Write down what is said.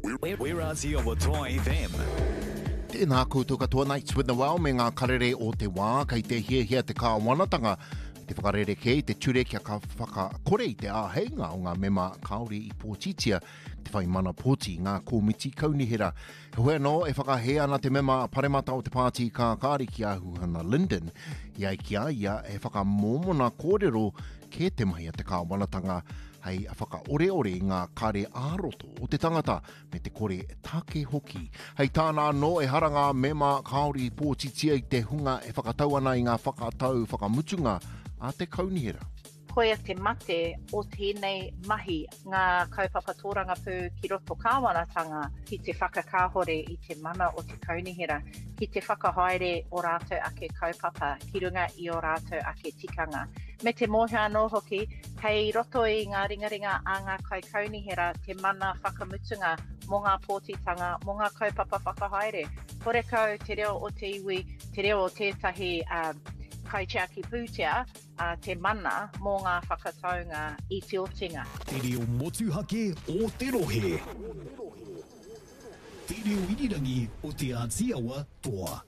We're Aotearoa Toa FM. Tēnā koutou katoa Nights with Noel me ngā karere o te wā kei te hiahia te kāwanatanga te whakarerekē i te ture kia ka whakakore i te āheinga o ngā mema kāore i pōtitia te whai mana pōti i ngā kōmiti kaunihera. Heoi anō, e whakahē ana te mema paremata o te Pāti Kākāriki a Huhana Lyndon i ai ki a ia he whakamōmona kōrero kē te mahi a te kāwanatanga hei whakaoreore i ngā kare ā-roto o te tangata me te kore take hoki. Hei tāna anō, ehara ngā mema kāore i pōtitia i te hunga e whakatau ana i ngā whakatau whakamutunga a te kaunihera. Koia te mate o tēnei mahi, ngā kaupapa tōrangapū ki roto kāwanatanga ki te whakakāhore i te mana o te kaunihera, ki te whakahaere o rātou ake kaupapa ki runga i ō rātou ake tikanga. Me te mōhio anō hoki, kei roto i ngā ringaringa a ngā kaikaunihera te mana whakamutunga mō ngā pōtitanga, mō ngā kaupapa whakahaere. Horekau te reo o te iwi, te reo o tētahi kaitiaki pūtea, a te mana mō ngā whakataunga i te otinga. Te reo motuhake o te rohe. Te reo irirangi o Te Āti Awa Toa.